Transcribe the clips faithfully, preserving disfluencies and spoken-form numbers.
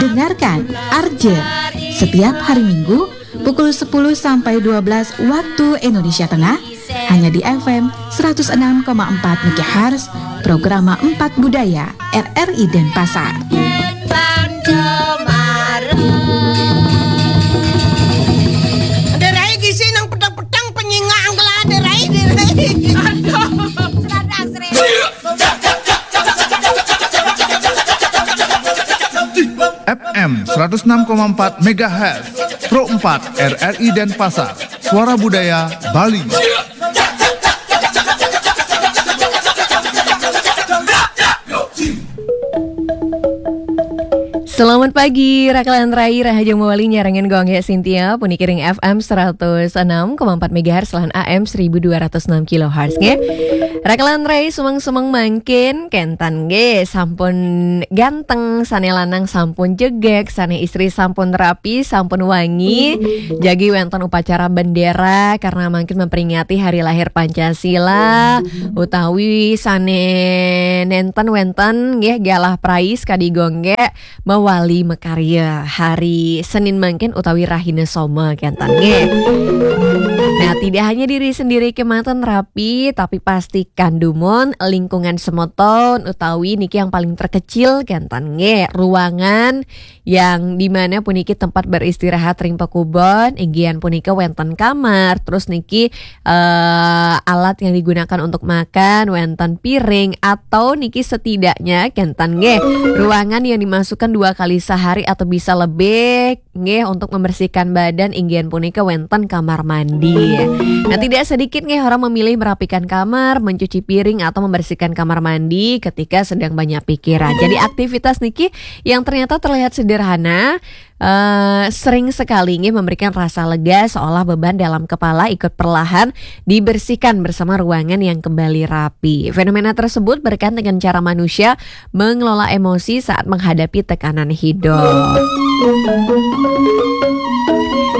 Dengarkan Arje setiap hari Minggu pukul sepuluh sampai dua belas waktu Indonesia Tengah, hanya di F M seratus enam koma empat megahertz, Programa Empat Budaya, R R I Denpasar. Derai gisi nang petang-petang penyinga angkela derai, derai. F M seratus enam koma empat megahertz, Pro empat R R I Denpasar, Suara Budaya Bali. Selamat pagi, Rakalan Rai, Rahajeng Mawali nyarengan Gong Sintia, puniki ring F M seratus enam koma empat megahertz lan A M seribu dua ratus enam kilohertz, nggih. Rakalan Rai, sumeng-sumeng mangkin, kenten nggih, sampun ganteng, sane lanang sampun jegeg, sane istri sampun rapi, sampun wangi, jagi wenten upacara bendera, karena mangkin memperingati hari lahir Pancasila, utawi sane nenten wenten, nggih, galah prais kadi gongge, mawali makarya hari Senin mangkin utawi Rahina Soma kenten nggih. Nah, tidak hanya diri sendiri kemawon rapi, tapi pastikan dumun lingkungan semeton utawi niki yang paling terkecil kenten nggih, ruangan yang dimana puniki tempat beristirahat ring pakubon, inggihan punika wenten kamar, terus niki eh, alat yang digunakan untuk makan, wenten piring, atau niki setidaknya kenten nggih, ruangan yang dimasukkan dua kali sehari atau bisa lebih nggih untuk membersihkan badan, inggihan punika wenten kamar mandi. Nah, tidak sedikit nggih orang memilih merapikan kamar, mencuci piring, atau membersihkan kamar mandi ketika sedang banyak pikiran. Jadi aktivitas niki yang ternyata terlihat sederhana, eh, sering sekali nggih memberikan rasa lega, seolah beban dalam kepala ikut perlahan dibersihkan bersama ruangan yang kembali rapi. Fenomena tersebut berkaitan dengan cara manusia mengelola emosi saat menghadapi tekanan hidup.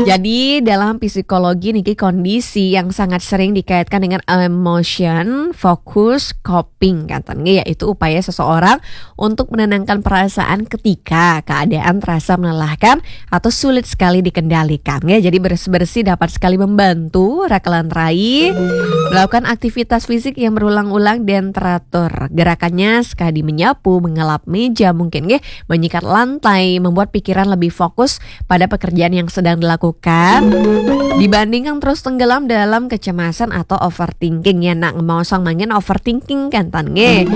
Jadi, dalam psikologi niki kondisi yang sangat sering dikaitkan dengan emotion focus coping, kenten nggih, yaitu upaya seseorang untuk menenangkan perasaan ketika keadaan terasa melelahkan atau sulit sekali dikendalikan, ya. Jadi bersih-bersih dapat sekali membantu Rakalan Rai melakukan aktivitas fisik yang berulang-ulang dan teratur. Gerakannya sekali menyapu, mengelap meja mungkin, nggih, menyikat lantai, membuat pikiran lebih fokus pada pekerjaan yang sedang dilakukan dibandingkan terus tenggelam dalam kecemasan atau overthinking, ya. Nak ngemaosang mangkin overthinking kenten nggih.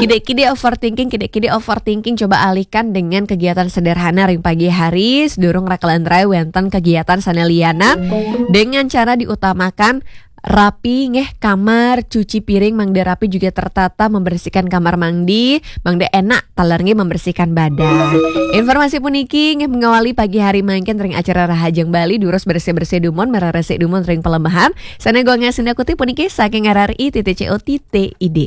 Kide-kide overthinking, kide-kide overthinking, coba alihkan dengan kegiatan sederhana ring pagi hari, sedurung Rakalan Rai wenten kegiatan sane lianan, dengan cara diutamakan rapi nggih kamar, cuci piring mangda rapi juga tertata, membersihkan kamar mandi mangda enak taler nggih membersihkan badan. Informasi puniki nggih mengawali pagi hari mangkin ring acara Rahajeng Bali, durus bersih-bersih dumun, mereresik dumun ring palebbahan. Sane Gong Sintia Kuti puniki saking R R I titik C O titik I D.